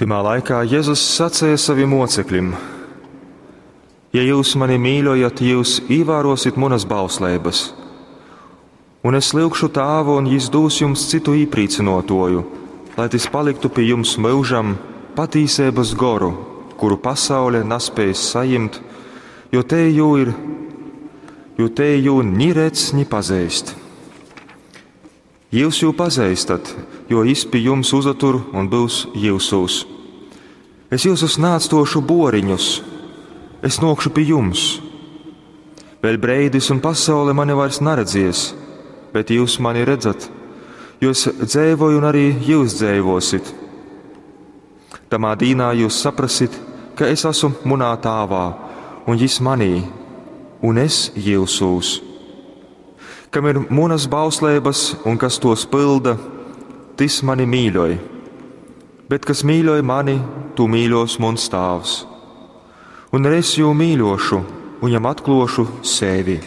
Tymā laikā Jezus saceja savim mocekļim: Ja jūs mani mīļojat, jūs īvērosit munas bausleibas. Un es lyugšu Tāvu, un jis dūs jums citu īprīcynuotuoju, lai tys paliktu pi jums myužam, patīseibys goru, kuru pasaule naspēj sajimt, jo tei jū ir, jo tei jū ni redz, ni pazeist. Jūs jū pazeistat, jo jis pi jums uzatur un byus jyusūs. Es jyusus naatstuošu buoriņus, es nuokšu pi jums. Vēļ breidis un pasaule mani vairs naredzies, bet jūs mani redzat, jo es dzeivoju un arī jūs dzeivosit. Tamā dīnā jūs saprasit, ka es esmu munā tāvā, un jis manī, un es jyusūs. Kam ir munas bausleibas un kas tos pylda, tys mani mīļoj. Bet kas mīļoj mani, tū mīļos muns tāvs. Un es jū mīļošu un jam atklošu sevi.